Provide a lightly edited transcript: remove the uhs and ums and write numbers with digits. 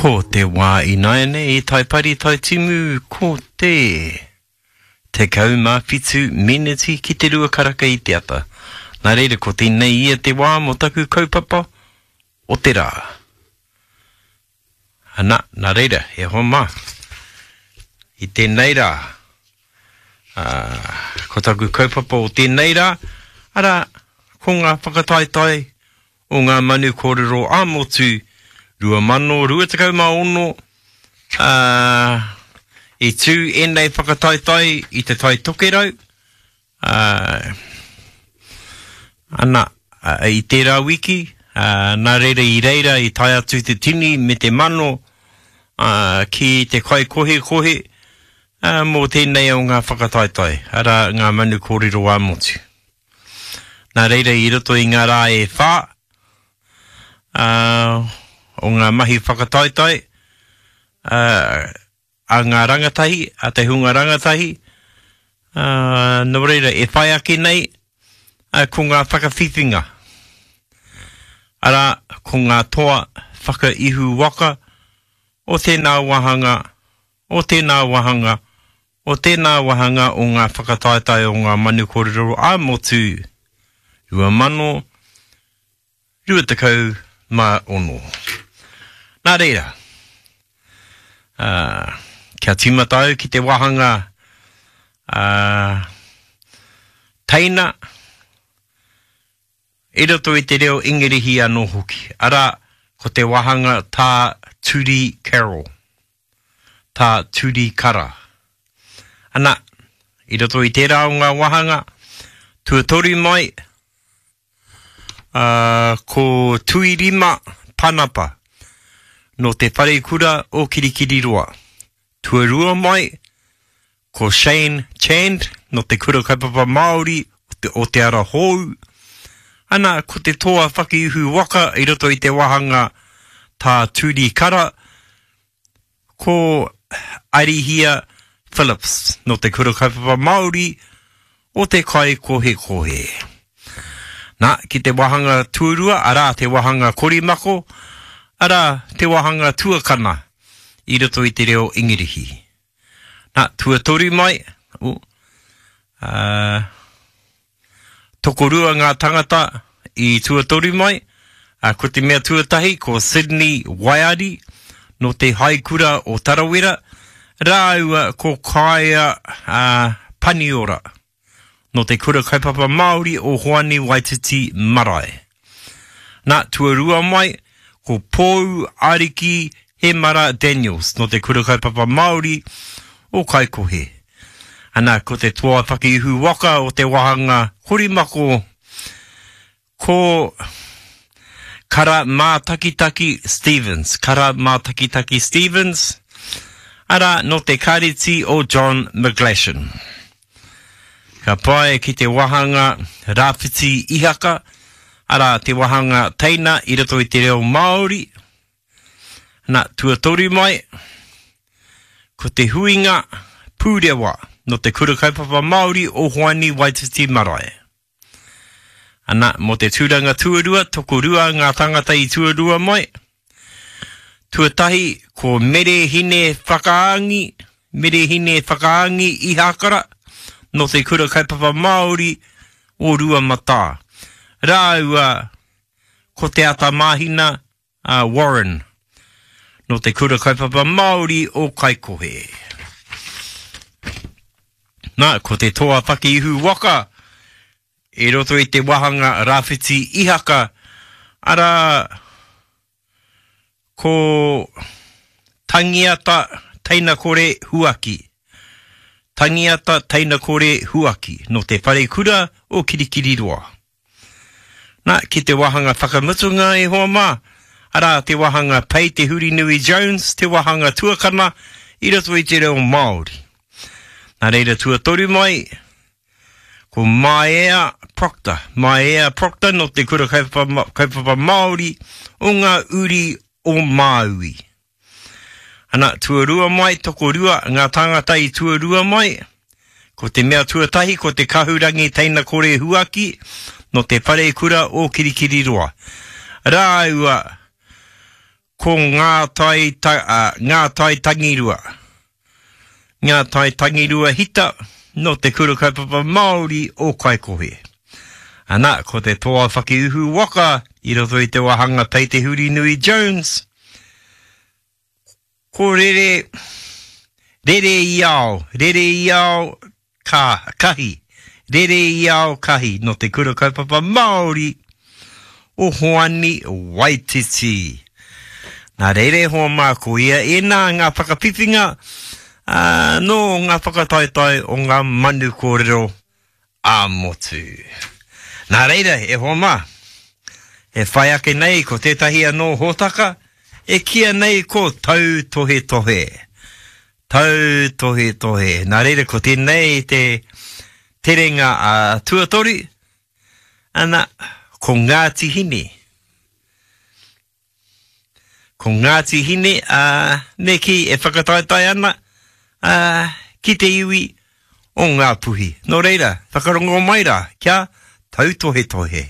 Ko te wā ināianei i Taipari Taitimu ko te 17 meneti ki te rua karaka i te ata. Nā reira ko tēnei ia te wā mō taku kaupapa o te rā. Ana, nā reira, e hoa mā, i tēnei rā, ā, ko taku kaupapa o tēnei rā, arā, ko ngā whakataetae o ngā manu kōrero ā-motu 2026, ā, i tū ēnei whakataetae i Te Tai Tokerau, ā, ana, i tērā wiki, ā, nā reira i reira i tae atu te tini me te mano, ā, ki te kaikohekohe, ā, mō tēnei o ngā whakataetae, arā, ngā manu kōrero ā-motu. Nā reira i roto i ngā rā e whā, ā, o ngā mahi whakataetae, ā, a ngā rangatahi, a te hunga rangatahi, ā, nō reira e whai ake nei, ā, ko ngā whakawhiwhinga. Arā, ko ngā toa whakaihu waka o tēnā wāhanga, o tēnā wāhanga, o tēnā wāhanga o ngā whakataetae o ngā manu kōrero ā-motu 2026. Nā reira, ā, kia tīmata au ki te wāhanga ā, teina i roto i te reo Ingirihi anō hoki, arā, ko te wāhanga tā Turi Carroll. Tā Turi Kara. Ana, i roto i tērā o ngā wāhanga, tuatoru mai, ā, ko Tuirima Panapa, nō Te Wharekura o Kirikiriroa. Tuarua mai, ko Shane Chand, nō Te Kura Kaupapa Māori o Te Ara Hou. Ana, ko te toa whakiuhu waka i roto i te wāhanga Tā Turi Kara, Ko Arihia Phillips nō Te Kura Kaupapa Māori o Te Kaikohekohe. Nā, ki te wāhanga tuarua, arā, te wāhanga korimako, arā, te wāhanga tuakana i roto i te reo Ingirihi. Nā, tuatoru mai, oh, uh, Tokorua ngā tangata i tuatoru mai, ā, ko te mea tuatahi ko Sydney Waiari nō te Haikura o Tarawera, rāua ko Kaea Paniora nō te Kura Kaupapa Māori o Hoani Waititi Marae. Nā, tuarua mai, ko Pou Ariki Hemara Daniels nō te Kura Kaupapa Māori o Kaikohe. Ana, ko te toa whakiihu waka o te wāhanga korimako, ko Kara Mātakitaki Stevens, Kara Mātakitaki Stevens, arā, nō te kāreti o John McGlashan. Ka pae ki te wāhanga Rāwhiti Ihaka, arā, te wāhanga teina i roto i te reo Māori, Na, tuatoru mai, ko te huinga pūrewa nō te Kura Kaupapa Māori o Hoani Waititi Marae. Ana, mō te tūranga tuarua, tokorua ngā tāngata i tuarua mai. Tuatahi, ko Mere Hine Whakaangi, Mere Hine Whakaangi Ihakara, nō te Kura Kaupapa Māori o Ruamatā. Rāua ko Te Atamāhina a Warren, nō te Kura Kaupapa Māori o Kaikohe. Nā, ko te toa whakiihu waka i roto i te wāhanga Rāwhiti Ihaka, arā, ko Tangiata Teinakore Huaki. Tangiata Teinakore Huaki, nō te Wharekura o Kirikiriroa. Nā, ki te wāhanga whakamutunga e hoa mā, arā, te wāhanga Pei Te Hurinui Jones, te wāhanga tuakana i roto i te reo Māori. Nā reira tuatoru mai, ko Maea Proctor, Maea Proctor nō te Kura Kaupapa, Kaupapa Māori o ngā uri o Māui. Ana, tuarua mai, tokorua ngā tāngata i tuarua mai. Ko te mea tuatahi ko te Kahurangi Teinakore Huaki nō te Wharekura o Kirikiriroa. Rāua ko. Ko Ngā Tai, ta, Ngā Tai Tangirua. Ngā Tai Tangirua Hita nō Te Kura Kaupapa Māori o Kaikohe. Ana, ko te toa whakiuhu waka i roto i te wāhanga Pei Te Hurinui Jones, ko Rere, Rere i ao, Rere i ao, ka, kahi, Rere i ao kahi nō Te Kura Kaupapa Māori o Hoani Waititi. Nā reira e hoa mā, ko ia ēnā ngā whakawhiwhinga ā, nō ngā whakataetae o ngā manu kōrero ā-motu. Nā reira, e hoa mā, e whai ake nei ko tētahi anō hōtaka e kīia nei ko Tautohetohe. Tautohetohe. Nā reira, ko tēnei te terenga a tuatoru, ana, ko Ngāti Hine. Ko Ngāti Hine, ā, me kī, e whakataetae ana, ā, ki te iwi o Ngāpuhi. Nō reira, whakarongo mai rā, kia tautohetohe.